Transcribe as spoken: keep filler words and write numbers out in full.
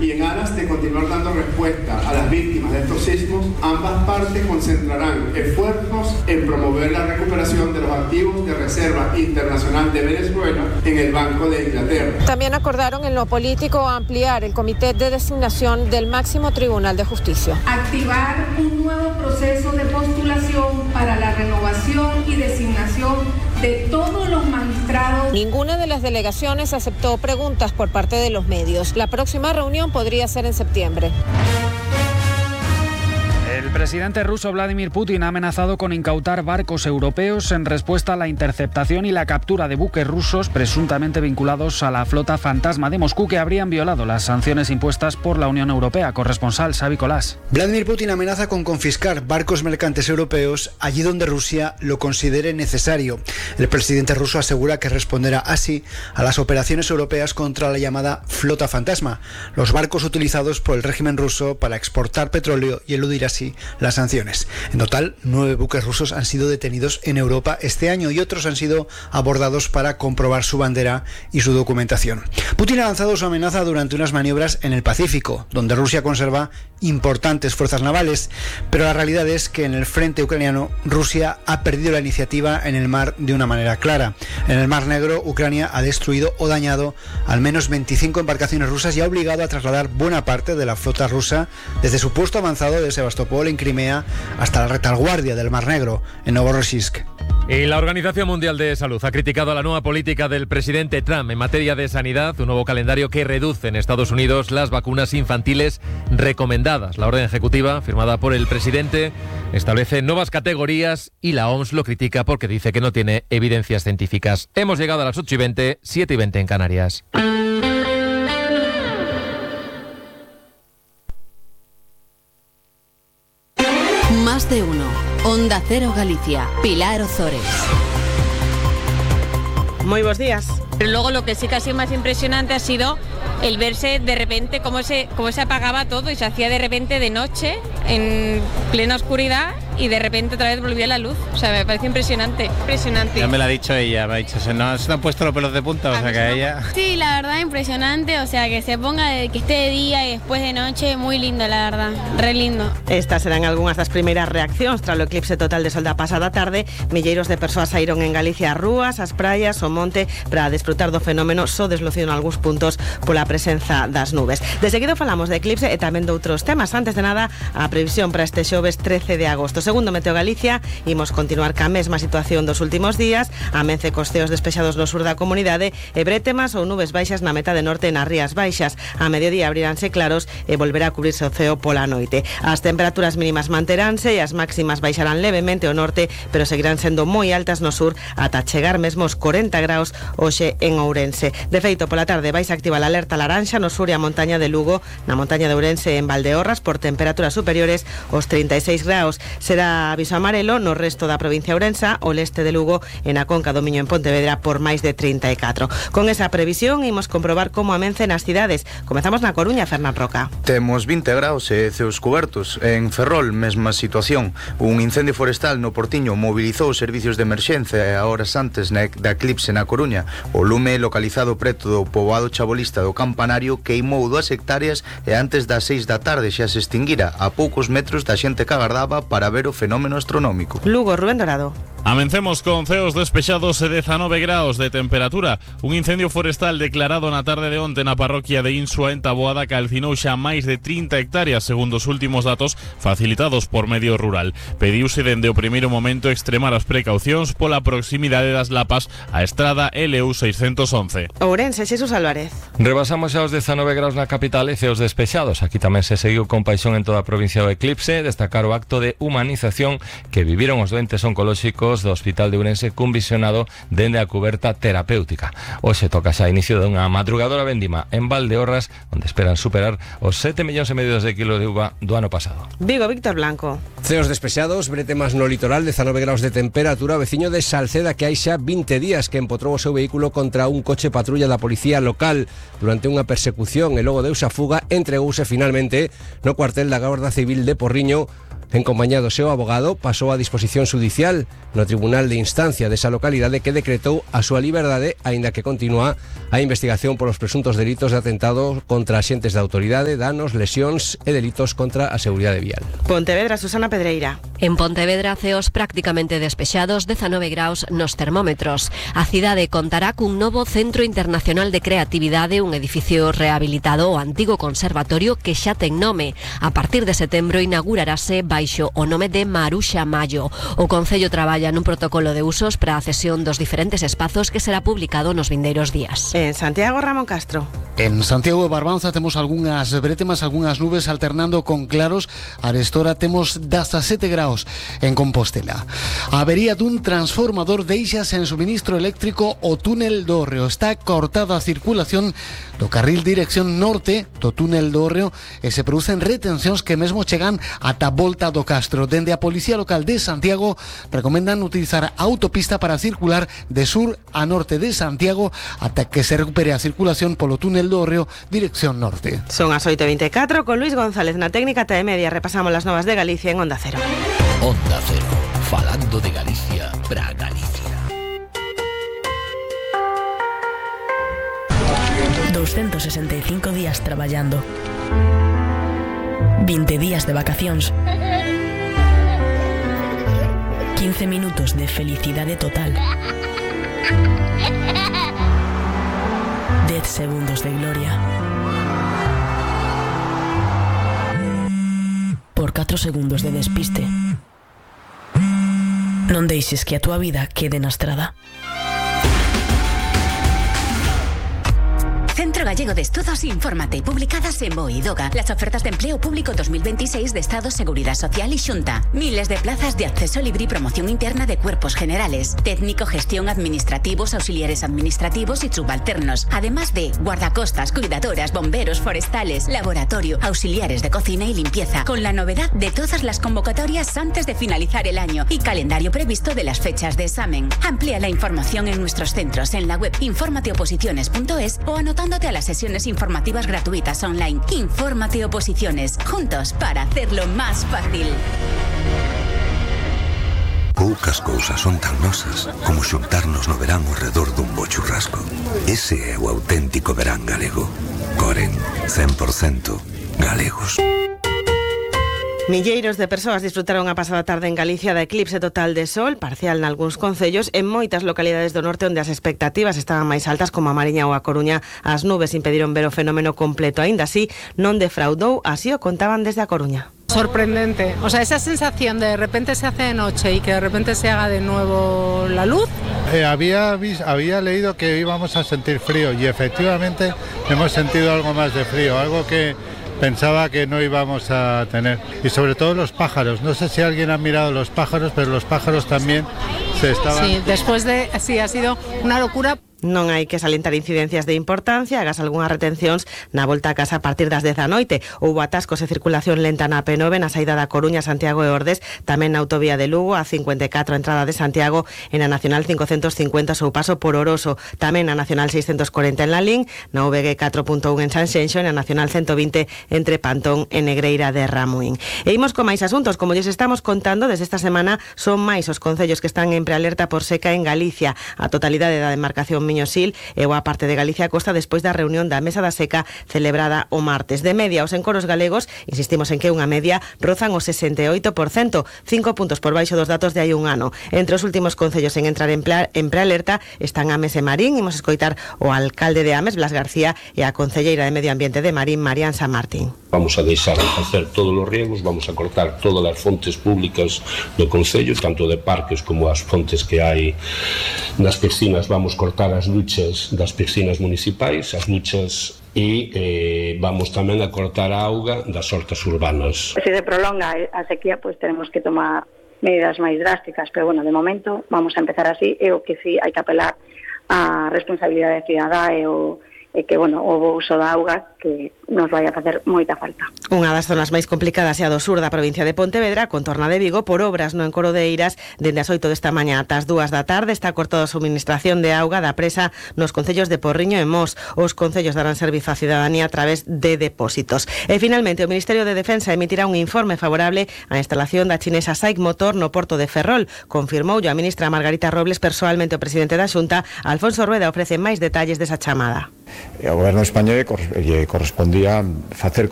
y en aras de continuar dando respuesta a las víctimas de estos sismos, ambas partes concentrarán esfuerzos en promover la recuperación de los activos de Reserva Internacional de Venezuela en el Banco de Inglaterra. También acordaron en lo político ampliar el comité de designación del máximo Tribunal de Justicia. Activar un nuevo proceso de postulación para la renovación y designación de todos los magistrados. Ninguna de las delegaciones aceptó preguntas por parte de los medios. La próxima reunión podría ser en septiembre. El presidente ruso Vladimir Putin ha amenazado con incautar barcos europeos en respuesta a la interceptación y la captura de buques rusos presuntamente vinculados a la flota fantasma de Moscú que habrían violado las sanciones impuestas por la Unión Europea. Corresponsal Xavi Colás. Vladimir Putin amenaza con confiscar barcos mercantes europeos allí donde Rusia lo considere necesario. El presidente ruso asegura que responderá así a las operaciones europeas contra la llamada flota fantasma, los barcos utilizados por el régimen ruso para exportar petróleo y eludir así las sanciones. En total, nueve buques rusos han sido detenidos en Europa este año y otros han sido abordados para comprobar su bandera y su documentación. Putin ha lanzado su amenaza durante unas maniobras en el Pacífico, donde Rusia conserva importantes fuerzas navales, pero la realidad es que en el frente ucraniano Rusia ha perdido la iniciativa en el mar de una manera clara. En el Mar Negro, Ucrania ha destruido o dañado al menos veinticinco embarcaciones rusas y ha obligado a trasladar buena parte de la flota rusa desde su puesto avanzado de Sebastopol en Crimea hasta la retaguardia del Mar Negro en Novorossiysk. Y la Organización Mundial de Salud ha criticado la nueva política del presidente Trump en materia de sanidad, un nuevo calendario que reduce en Estados Unidos las vacunas infantiles recomendadas. La orden ejecutiva, firmada por el presidente, establece nuevas categorías y la O M S lo critica porque dice que no tiene evidencias científicas. Hemos llegado a las ocho y veinte, siete y veinte en Canarias. Más de uno. Onda Cero Galicia. Pilar Ozores. Muy buenos días. Pero luego lo que sí que ha sido más impresionante ha sido el verse de repente cómo se, cómo se apagaba todo y se hacía de repente de noche, en plena oscuridad, y de repente otra vez volvía la luz. O sea, me parece impresionante. Impresionante. Ya me lo ha dicho ella, me ha dicho, se nos se han puesto los pelos de punta, o sea que ella... Sí, la verdad impresionante, o sea, que se ponga, de, que esté de día y después de noche, muy lindo, la verdad, re lindo. Estas serán algunas das primeiras reaccións tras o eclipse total de sol da pasada tarde. Milleiros de persoas saíron en Galicia ás rúas, ás praias, ao monte, para desfrutar do fenómeno, só deslucido en algúns puntos pola presenza das nubes. De seguido falamos de eclipse e tamén de outros temas. Antes de nada, a previsión para este xoves trece de agosto. Segundo Meteo Galicia, imos continuar ca mesma situación dos últimos días. Amence cos ceos despexados no sur da comunidade e brétemas ou nubes baixas na metade norte e nas rías baixas. A mediodía abriránse claros e volverá a cubrirse o ceo pola noite. As temperaturas mínimas manteránse e as máximas baixarán levemente ao norte, pero seguirán sendo moi altas no sur ata chegar mesmo os corenta graus hoxe en Ourense. De feito, pola tarde vais a activar a alerta laranxa no sur e a montaña de Lugo, na montaña de Ourense e en Valdeorras por temperaturas superiores aos trinta e seis graus. Será aviso amarelo no resto da provincia ourensa, o leste de Lugo e na Conca do Miño en Pontevedra por máis de trinta e catro. Con esa previsión imos comprobar como amencen as cidades. Comezamos na Coruña, Fernán Roca. Temos vinte graus e ceos cubertos. En Ferrol, mesma situación. Un incendio forestal no Portiño mobilizou os servicios de emerxencia e a horas antes da eclipse na Coruña. O lume localizado preto do poboado chabolista do Campanario queimou dúas hectáreas e antes das seis da tarde xa se extinguira a poucos metros da xente que agardaba para ver o fenómeno astronómico. Lugo, Rubén Dorado. Amencemos con ceos despexados e dezanove graus de temperatura. Un incendio forestal declarado na tarde de onte na parroquia de Insua en Taboada calcinou xa máis de trinta hectáreas segundo os últimos datos facilitados por Medio Rural. Pediuse dende o primeiro momento extremar as precaucións pola proximidade das lapas a estrada L U seiscentos once. Ourense, Xesús Álvarez. Rebasamos xa os dezanove graus na capital e ceos despexados. Aquí tamén se seguiu con paixón en toda a provincia do eclipse. Destacar o acto de humanización que viviron os doentes oncolóxicos do Hospital de Ourense cun visionado dende a cuberta terapéutica. Hoxe toca xa inicio dunha madrugadora vendima en Valdeorras, onde esperan superar os sete millóns e medio de kilos de uva do ano pasado. Vigo, Víctor Blanco. Ceos despexados, bretemas no litoral, dezanove graus de temperatura. Veciño de Salceda que hai xa vinte días que empotrou o seu vehículo contra un coche patrulla da policía local durante unha persecución e logo deuse a fuga, entregouse finalmente no cuartel da Garda Civil de Porriño En compañía do seu abogado, pasou a disposición judicial no Tribunal de Instancia desa localidade que decretou a súa liberdade, aínda que continúa a investigación polos presuntos delitos de atentado contra axentes da autoridade, danos, lesións e delitos contra a seguridade vial. Pontevedra, Susana Pedreira. En Pontevedra, ceos prácticamente despexados, dezanove graus nos termómetros. A cidade contará cun novo Centro Internacional de Creatividade, un edificio rehabilitado ao antigo conservatorio que xa ten nome. A partir de setembro inaugurarase baixo o nome de Maruxa Mayo. O Concello traballa nun protocolo de usos para a cesión dos diferentes espazos que será publicado nos vindeiros días. En Santiago, Ramón Castro. En Santiago de Barbanza temos algunhas brétemas, algunhas nubes alternando con claros. Arestora temos dezasete graus en Compostela. A avería dun transformador deixa sen suministro eléctrico o túnel do Hórreo. Está cortada a circulación do carril dirección norte do túnel do Hórreo e se producen retencións que mesmo chegan ata Volta do Castro. Dende a Policía Local de Santiago recomendan utilizar a autopista para circular de sur a norte de Santiago ata que se recupere a circulación polo túnel do Hórreo dirección norte. Son as oito e veinticuatro con Luis González na técnica T media. Repasamos las novas de Galicia en Onda Cero. Onda Cero, falando de Galicia para Galicia. doscientos sesenta y cinco días traballando, veinte días de vacacións, quince minutos de felicidade total, dez segundos de gloria, por catro segundos de despiste. Non deixes que a túa vida quede na estrada. Centro Gallego de Estudos Infórmate, publicadas en BOE y DOGA. Las ofertas de empleo público dos mil veintiséis de Estado, Seguridad Social y Xunta. Miles de plazas de acceso libre y promoción interna de cuerpos generales. Técnico, gestión, administrativos, auxiliares administrativos y subalternos. Además de guardacostas, cuidadoras, bomberos, forestales, laboratorio, auxiliares de cocina y limpieza. Con la novedad de todas las convocatorias antes de finalizar el año y calendario previsto de las fechas de examen. Amplía la información en nuestros centros en la web informateoposiciones punto es o anotando a las sesiones informativas gratuitas online. Infórmate Oposiciones, juntos para hacerlo más fácil. Poucas cousas son tan nosas como xuntarnos no verán ao redor dun bo churrasco. Ese é o auténtico verán galego. Coren, cen por cento galegos. Milleiros de persoas disfrutaron a pasada tarde en Galicia da eclipse total de sol, parcial nalgúns concellos, en moitas localidades do norte onde as expectativas estaban máis altas, como a Mariña ou a Coruña. As nubes impediron ver o fenómeno completo. Aínda así, non defraudou, así o contaban desde a Coruña. Sorprendente, o sea, esa sensación de de repente se hace de noche y que de repente se haga de nuevo la luz. Eh, había, había leído que íbamos a sentir frío y efectivamente hemos sentido algo más de frío, algo que pensaba que no íbamos a tener. Y sobre todo los pájaros. No sé si alguien ha mirado los pájaros, pero los pájaros también se estaban... Sí, después de... Sí, ha sido una locura. Non hai que salientar incidencias de importancia, hagas algunhas retencións na volta a casa a partir das dez da noite. Houbo atascos e circulación lenta na P nove na saída da Coruña, Santiago e Ordes, tamén na autovía de Lugo, a cincuenta e catro a entrada de Santiago, e na Nacional cincocentos cincuenta seu paso por Oroso, tamén na Nacional seiscentos cuarenta en Lalín, na V G catro punto un en Sanxenxo e na Nacional ciento vinte entre Pantón e Negreira de Ramuín. E imos con máis asuntos, como lles estamos contando, desde esta semana son máis os concellos que están en prealerta por seca en Galicia. A totalidade da demarcación Miñosil e boa parte de Galicia Costa despois da reunión da Mesa da Seca celebrada o martes. De media, os encoros galegos, insistimos en que unha media, rozan o sesenta e oito por cento, cinco puntos por baixo dos datos de hai un ano. Entre os últimos concellos en entrar en, plea, en prealerta están Ames e Marín. Imos escoitar o alcalde de Ames, Blas García, e a concelleira de Medio Ambiente de Marín, Marian San Martín. Vamos a deixar de facer todos os riegos, vamos a cortar todas as fontes públicas do concello, tanto de parques como as fontes que hai nas piscinas. Vamos cortar as duchas das piscinas municipais, as duchas, e eh, vamos tamén a cortar a auga das hortas urbanas. Se se prolonga a sequía, pois pues, tenemos que tomar medidas máis drásticas, pero bueno, de momento vamos a empezar así, e o que sí hai que apelar a responsabilidade cidadá e o e que, bueno, o bo uso da auga que nos vai a facer moita falta. Unha das zonas máis complicadas é a do sur da provincia de Pontevedra, contorna de Vigo, por obras no encoro de Eiras. Dende as oito desta mañá ata as dúas da tarde está cortada a suministración de auga da presa nos concellos de Porriño e Mos. Os concellos darán servizo á cidadanía a través de depósitos. E finalmente o Ministerio de Defensa emitirá un informe favorable á instalación da chinesa SAIC Motor no porto de Ferrol. Confirmou a ministra Margarita Robles persoalmente o presidente da Xunta. Alfonso Rueda ofrece máis detalles desa chamada. Ao goberno español lle correspondía facer